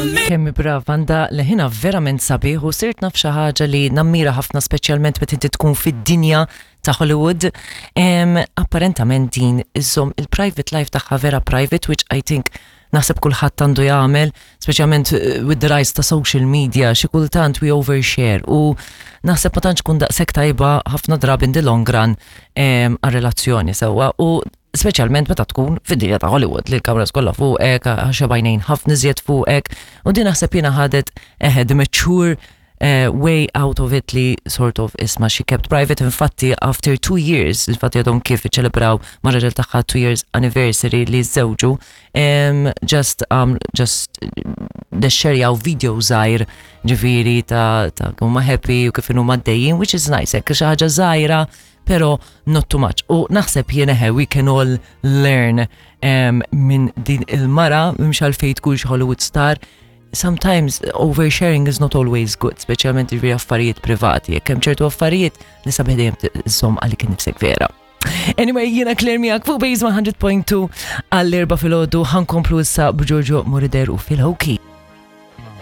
Kemm brava għandha leħinha verament sabiħ u sirt naf xi ħaġa li nammira ħafna speċjalment meta inti tkun fid-dinja ta' Hollywood. Em, apparentament din iżżomm il-private life tagħha vera private, which I think naħseb kulħadd għandu jagħmel, speċjalment eh, with the rise ta' social media, xi kultant we overshare u naħseb ma tantx kun daqshekk tajba ħafna drabi in the long run em, għar-relazzjoni sewwa u speċjalment meta tkun fid-dinja ta' Hollywood li l-kameras kollha fuqek, għax għajnejn ħafna iżjed fuqek u din naħseb jiena ħadet eħe the mature way out of it li sort of isma she kept private. Infatti after 2 years, infatti għadhom kif iċċelebraw ma' raġel tagħha 2 years anniversary li żewġu, just xxerjaw video żgħir ġifieri ta' huma happy u kif huma għaddejjin, which is nice, hekk xi ħaġa żgħira pero not too much. U naħseb jiena he, we can all learn minn din il-mara, mhux għalfejn tkun xi Hollywood star, sometimes oversharing is not always good, speċjalment ġifieri affarijiet privati, jekk hemm ċertu affarijiet li sabiħ dejjem żomm għalik innifsek vera. Anyway, jiena Claire miegħek fuq Base 100.2 għall-4 filgħodu ħa nkomplu issa b'Giorgio Moroder u Phil Hokey.